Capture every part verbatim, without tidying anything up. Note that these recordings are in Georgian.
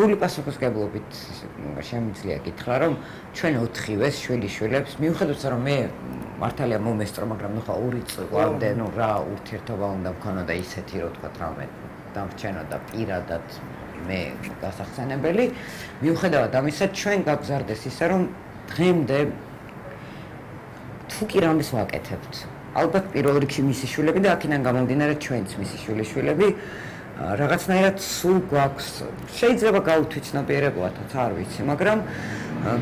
სრული პასუხისმგებლობით შემიძლია გითხრა, რომ ჩვენ ოთხივეს შვილიშვილებს მიუხედავად რომ მე მართალია მომესწრო, მაგრამ ნუ ხა ორი წლამდე ნუ რა ურთიერთობა უნდა მქონოდა ისეთი, რომ თქვა რამე დამრჩენოდა პირადად მე გასახსენებელი, მიუხედავად ამისა ჩვენ გაგზარდეს ისე, რომ დღემდე თუ კი რამეს ვაკეთებთ. ალბათ პირველ რიგში მისი შვილები და აქედან გამომდინარე ჩვენც მისი შვილიშვილები რაღაცნაირად სულ გვაქვს შეიძლება გაუთვითცნობიერებოდათ არ ვიცი მაგრამ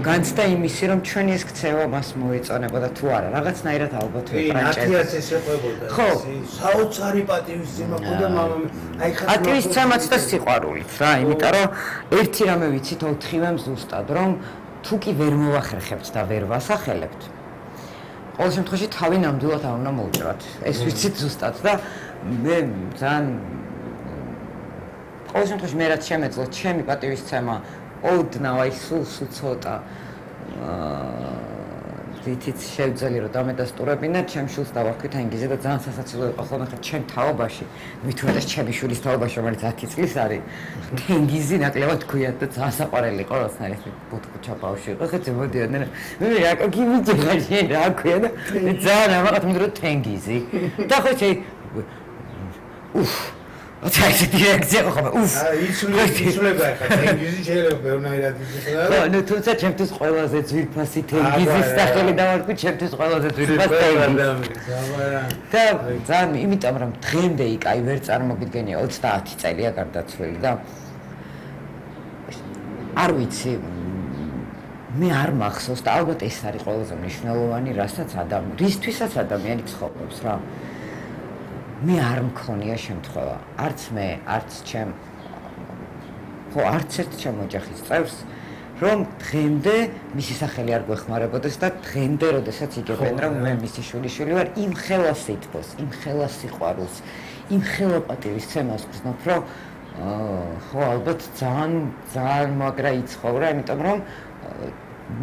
განცდა იმისი რომ ჩვენი ეს ქცევა მას მოეწონებოდა თუ არა რაღაცნაირად ალბათ ვეპრანჭეთ ათი ათი შეყვებოდა ხო საოცარი პატივისცემა გქონდა მამამ აი ხა პატივისცემაც და სიყვარულიც რა იმიტომ რომ ერთი რამე ვიცით ოთხივემ ზუსტად რომ თუ კი ვერ მოვახერხებთ და ვერ ვასახელებთ ყოველ შემთხვევაში თავი ნამდვილად არ უნდა მოუჭრათ ეს ვიცით ზუსტად და მე ძალიან ყოველ შემთხვევაში მე რაც შემეძლო ჩემი პატივისცემა ოდნავ აი სულ სულ ცოტა ვთით შევძელი რომ დამედასტურებინა ჩემ შვილს დავარქვით ანგიზე და ძალიან სასაცილო იყო ხოლმე ხა ჩემ თაობაში მithumetas ჩემი შვილის თაობაში რომელიც ათი წლის არის თენგიზი ნაკლებად ქვიათ და ძალიან საყვარელი იყო როდესაც ეს ბუთქუჩა ბავშვი იყო ხეთ მოდიოდნენ მე რა გიმიჯერა შენ რა ქვია და ძალიან ამაყად მიდრო თენგიზი და ხო შე უფ Ota ეს დირექცია ხომ უფ იცვლება ხა თენგიზი შეიძლება ბევრნაირად იცოდა ხო ნუ თუმცა ჩემთვის ყველაზე ძვირფასი თენგიზის სახელი დავარქვი ჩემთვის ყველაზე ძვირფასი თენგიზი და ძალიან იმიტომ რომ დღემდე იქ აი ვერ წარმოგიდგენია ოცდაათი წელია გარდაცვლილი და არ ვიცი მე არ მახსოვს და ალბათ ეს არის ყველაზე მნიშვნელოვანი რასაც ადამიანი რისთვისაც ადამიანი ცხოვრობს რა მე არ მქონია შემთხვევა არც მე არც ჩემ ხო არც ერთ ჩემ ოჯახის წევრს რომ დღემდე მისი სახელი არ გვეხმარებოდეს და დღემდე როდესაც იგებენ რომ მე მისი შვილიშვილი ვარ იმ ხელა სითბოს იმ ხელა სიყვარულს იმ ხელა პატივისცემას გრძნობ რომ ხო ალბათ ძალიან ძალიან მაგრა იცხოვრა იმიტომ რომ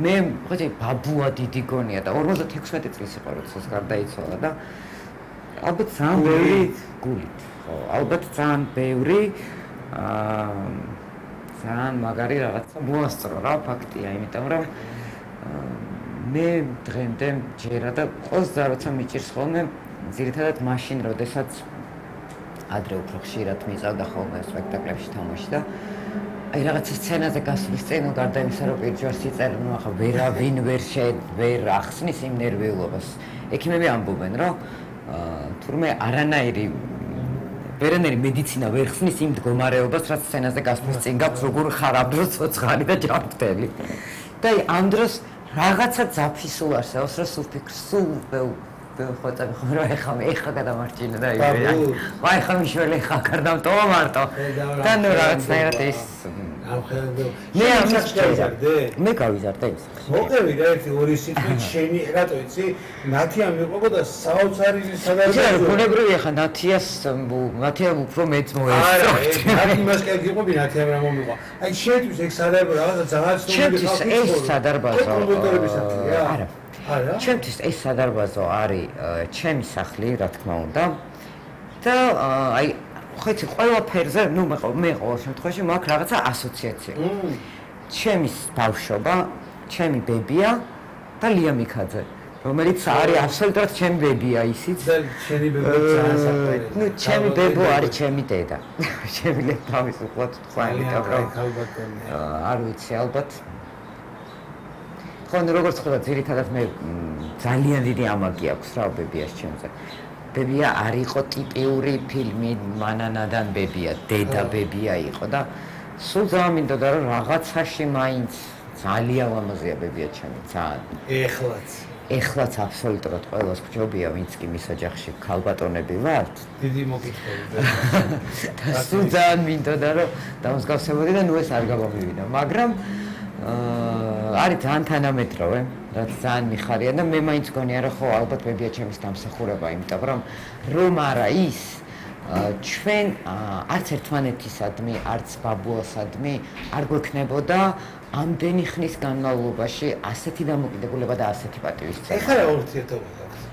მე ხო ბაბუა დიდი გონია და ორმოცდათექვსმეტი წლის იყო როდესაც გარდაიცვალა და ალბათ ძალიან ბევრი გულით ხო ალბათ ძალიან ბევრი აა ძალიან მაგარი რაღაცა მოასწრო რა ფაქტია იმიტომ რომ მე დღემდე ჯერა და ოცდა როცა მიჭირს ხოლმე ძირითადად მაშინ როდესაც ადრე უფრო ხშირად მიწავდა ხოლმე სპექტაკლებში თამაში და აი რაღაცა სცენაზე გასვლის წინ გარდა იმისა რომ პირჯვარს იწერენ ნუ ახლა ვერავინ ვერ შედ ვერ ახსნის იმ ნერვიულობას ექიმები ამბობენ რომ თურმე არანაირი ვერანაირი მედიცინა ვერ ხსნის იმ მდგომარეობას რაც სცენაზე გასვლის წინ გაქვს როგორ ხარ ამ დროს ცოცხალი და ჯანმრთელი და აი ამ დროს რაღაცა ძაფისულ არსებობს რომ სულ ფიქრს სულ ხოწები ხომ რა ეხა მე ეხა გადამარჩინა და აი ვაი ხა მიშველი ხა გარდამტოვა მარტო და ნუ რაღაცნაირად ეს მე ამას გავიზარდე მე გავიზარდე ის მოგევი რა ერთი ორი სიტყვით შენი რატო იცი ნათია მიყვებოდა საოცარი სადარბაზო ბუნებრივია ხა ნათიას ნათიამ უფრო მეც მოესწრო არა იმას კი გიყვები ნათიამ რა მომიყვა აი შენთვის ეგ სადარბაზო რაღაცა ძალიან ცნობილი ხალხი ეს სადარბაზო არა არა ჩემთვის ეს სადარბაზო არის ჩემი სახლი რა თქმა უნდა და აი ხო იცი ყველაფერზე ნუ მე მე ყოველ შემთხვევაში მაქვს რაღაცა ასოციაცია ჩემი ბავშვობა ჩემი ბებია და ლია მიქაძე რომელიც არის აბსოლუტურად ჩემი ბებია ისიც და ჩემი ბებია ძალიან საყვარელი ნუ ჩემი ბებო არის ჩემი დედა შემიძლია თავისუფლად თქვა იმიტომ რომ არ ვიცი ალბათ ხო ნუ როგორც ხედავ ძირითადად მე ძალიან დიდი ამაგი აქვს რა ბებიას ჩემზე ბებია არ იყო ტიპიური ფილმი მანანადან ბებია დედა ბებია იყო და სულ ძალიან მინდოდა რომ რაღაცაში მაინც ძალიან ლამაზია ბებია ჩემი ძალიან ეხლაც ეხლაც აბსოლუტურად ყველას გჯობია ვინც კი მის ოჯახში ქალბატონები ვართ დიდი მოკითხები და სულ ძალიან მინდოდა რომ დამსგავსებოდი და ნუ ეს არ გამომივიდა მაგრამ არის ძალიან თანამედროვე რაც ძალიან მიხარია და მე მაინც გონია რომ ხო ალბათ ბებია ჩემის დამსახურება იმიტომ რომ რომ არა ის ჩვენ არც ერთმანეთისადმი არც ბაბუასადმი არ გვექნებოდა ამდენი ხნის განმავლობაში ასეთი დამოკიდებულება და ასეთი პატივისცემა ეხლა რა ურთიერთობა გაქვს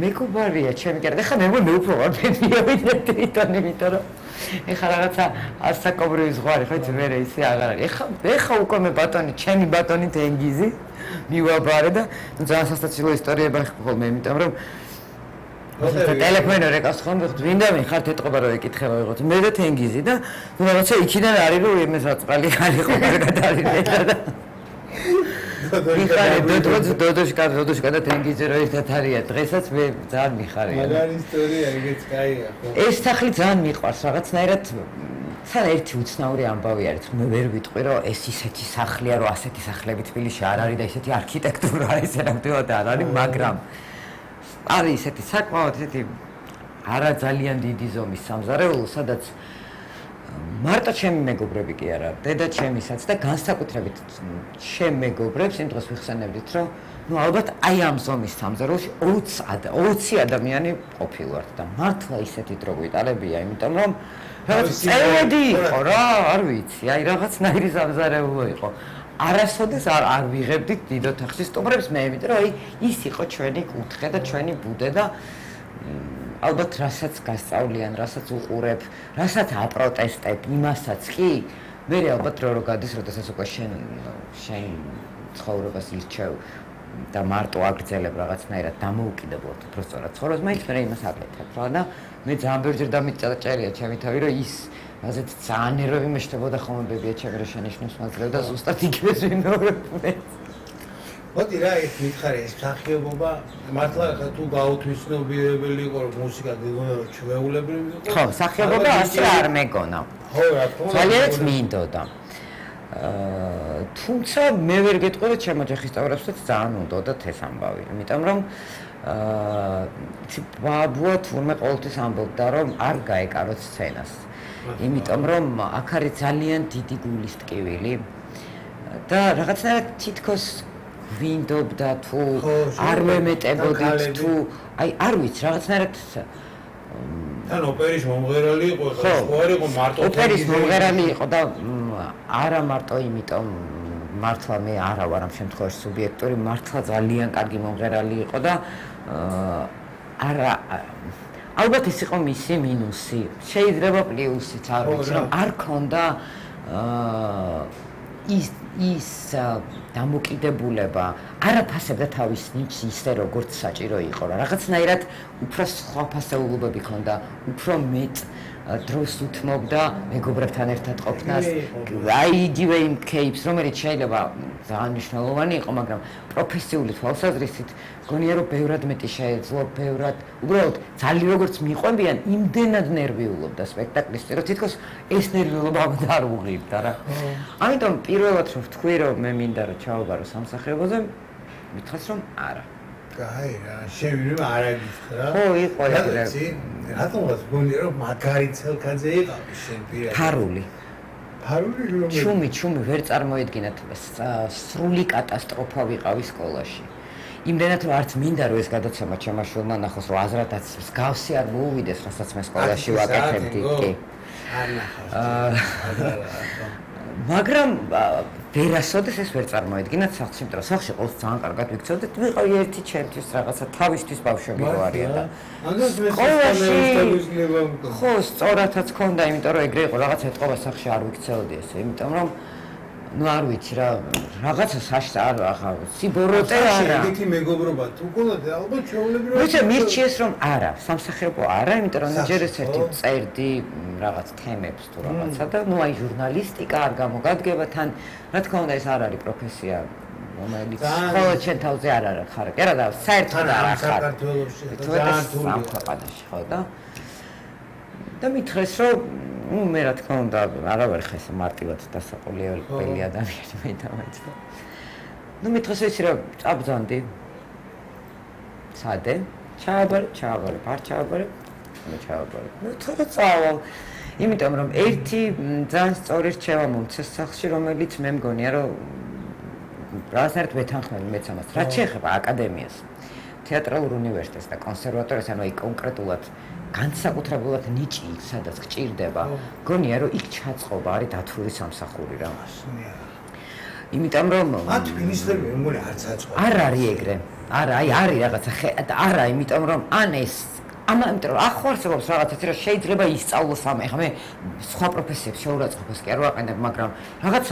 მეგობარია ჩემი კერა ეხლა მე მე უფრო ვარ ბებია ვიდრე თვითონ იმიტომ რომ ეხლა რაღაცა ასაკობრივი ზღვარი ხო იცი მერე ისე აღარ არის. ეხლა ეხლა უკვე მე ბატონი, ჩემი ბატონი თენგიზი მივაბარე და ძალიან სასაცილო ისტორიები ხოლმე, იმიტომ რომ და ტელეფონი რეკავს ხომ ვინდა მე ხართ ეთყობა რომ ეკითხება ვიღოთ მე და თენგიზი და ნუ რაღაცა იქიდან არის რომ ემეს აწყალი ხალიყო კარგად არის და მიხარი დოდოჯ დოდოშკა დოდოშკა და თენგიზი რო ერთად არიან დღესაც მე ძალიან მიხარია მაგარი ისტორია ეგეც კაია ხო ეს სახლი ძალიან მიყვარს რაღაცნაირად თან ერთი უცნაური ამბავი არის მე ვერ ვიტყვი რომ ეს ისეთი სახლია რომ ასეთი სახლები თბილისში არ არის და ისეთი არქიტექტურა ესე ნამდვილად არ არის მაგრამ არის ისეთი საკმაოდ ისეთი არა ძალიან დიდი ზომის სამზარეულო სადაც მარტო ჩემი მეგობრები კი არა დედა ჩემისაც და განსაკუთრებით ჩემ მეგობრებს იმ დროს ვიხსენებდით რომ ნუ ალბათ აი ამ ზომის სამზარეულოში ოცი ადამიანი ყოფილვართ და მართლა ისეთი დრო გვიტარებია იმიტომ რომ რაღაც წევედი იყო რა არ ვიცი აი რაღაცნაირი სამზარეულო იყო არასოდეს არ არ ვიღებდით დიდ ოთახში სტუმრებს მე იმიტომ რომ აი ის იყო ჩვენი კუთხე და ჩვენი ბუდე და ალბათ რასაც გასწავლიან, რასაც უყურებ, რასაც აპროტესტებ, იმასაც კი მე ალბათ რო რო გადის, როდესაც უკვე შენ შენ ცხოვრებას ირჩევ და მარტო აგრძელებ რაღაცნაირად დამოუკიდებლად უფრო სწორად ცხოვრებას, მაინც მე იმას აკეთებ რა და მე ძალიან ბევრჯერ დამიწაჭერია ჩემი თავი რომ ის ასეთ ძალიან ნერვები მეშთებოდა ხოლმე ბებია ჩემი რა შენიშნოს მაძლევ და ზუსტად იგივეს ვიმეორებდე მოდი რა ეს მითხარი ეს სახიობობა მართლა თუ გაუთვისნობიერებელი იყო რომ მუსიკა გეგონა რომ ჩვეულებრივი იყო ხო სახიობობა ასე არ მეგონა ხო რა თქმა უნდა ძალიანაც მინდოდა აა თუმცა მე ვერ გეტყვი რომ ჩემო ოჯახის წევრებსაც ძალიან უნდოდათ ეს ამბავი იმიტომ რომ აა ბაბუა თურმე ყოველთვის ამბობდა რომ არ გაეკაროთ სცენას იმიტომ რომ აქ არის ძალიან დიდი გულის ტკივილი და რაღაცნაირად თითქოს ვინდობდა თუ არ მემეტებოდით თუ აი არ ვიცი რაღაცნაირად თან ოპერის მომღერალი იყო ხო არ იყო მარტო ოპერის მომღერალი იყო და არა მარტო იმიტომ მართლა მე არა ვარ ამ შემთხვევაში სუბიექტური მართლა ძალიან კარგი მომღერალი იყო და არა ალბათ ეს იყო მისი მინუსი შეიძლება პლუსიც არ ვიცი რომ არ ქონდა ის ის დამოკიდებულება არაფასებდა თავის ნიჭს ისე როგორც საჭირო იყო რა რაღაცნაირად უფრო სხვა ფასეულობები ქონდა უფრო მეტ დროს უთმობდა მეგობრებთან ერთად ყოფნას აი იგივე იმ кейპს რომელიც შეიძლება ძალიან მნიშვნელოვანი იყო მაგრამ პროფესიული თვალსაზრისით გონია რომ ბევრად მეტი შეეძლო ბევრად უბრალოდ ძალიან როგორც მიყვებიან იმდენად ნერვიულობდა სპექტაკლის რომ თითქოს ეს ნერვიულობა არ უღირდა რა ამიტომ პირველად რომ ვთქვი რომ მე მინდა რომ ჩავაბარო სამსახიობოზე მითხრას რომ არა კაი რა შევიდრე არა გითხრა ხო იყო ეგრე რატომაც გონია რომ მაგარი ცელქაძე იყავი შენ პირად ფარული ფარული რომ ჩუმი ჩუმი ვერ წარმოედგინათ სრული კატასტროფა ვიყავი სკოლაში იმდენად რომ არც მინდა რომ ეს გადაცემა ჩემაშვილმა ნახოს რომ აზრადაც მსგავსი არ მოუვიდეს რასაც მე სკოლაში ვაკეთებდი კი არ ნახავს მაგრამ ვერასოდეს ეს ვერ წარმოედგინათ სახლში იმიტომ რომ სახლში ყოველთვის ძალიან კარგად ვიქცევდით ვიყავი ერთი ჩემთვის რაღაცა თავისთვის ბავშვები რო არიან და ხო სწორადაც ქონდა იმიტომ რომ ეგრე იყო რაღაცა ეთყობა სახლში არ ვიქცევდი ესე იმიტომ რომ ну არ ვიცი რა რაღაცა საშტა არ ახლა სიბოროტე არა ეგეთი მეგობრობა თუ გქონდათ ალბათ ჩვეულებრივი ვიცი მირჩიეს რომ არა სამსახიობო არა იმიტომ რომ ჯერ ეს ერთი წერდი რაღაც თემებს თუ რაღაცა და ну აი ჟურნალისტიკა არ გამოგადგება თან რა თქმა უნდა ეს არ არის პროფესია რომელიც ხოლმე ჩვენ თავზე არ არის ხარ კი რა და საერთოდ არ არის საქართველოში ძალიან თურქეთში ხო და და მითხრეს რომ ну მე რა თქმა უნდა არა ვარ ხა ესე მარტივად დასაყოლებელი ადამიანი მე დამეც და ну მითხრეს ისე რომ წაბძანდი სადე ჩააბარე ჩააბარე არ ჩააბარე მე ჩააბარე ну თორე წავალ იმიტომ რომ ერთი ძალიან სწორი რჩევა მომცეს სახლში რომელიც მე მგონია რომ რაღაცნაირად ვეთანხმები მეც ამას რაც შეეხება აკადემიას თეატრალურ უნივერსიტეტს და კონსერვატორიას ანუ აი კონკრეტულად განსაკუთრებულად ნიჭი სადაც გჭირდება გონია რომ იქ ჩაწყობა არის დათვური სამსახური რა იმიტომ რომ მათ მინისტრები მეგონი არც აწყობა არ არის ეგრე არა აი არის რაღაცა არა იმიტომ რომ ან ეს ამა იმიტომ რომ ახო არსებობს რაღაცა რა შეიძლება ისწავლოს ამ ეხლა მე სხვა პროფესიებს შეურაცხყოფას კი არ ვაყენებ მაგრამ რაღაცა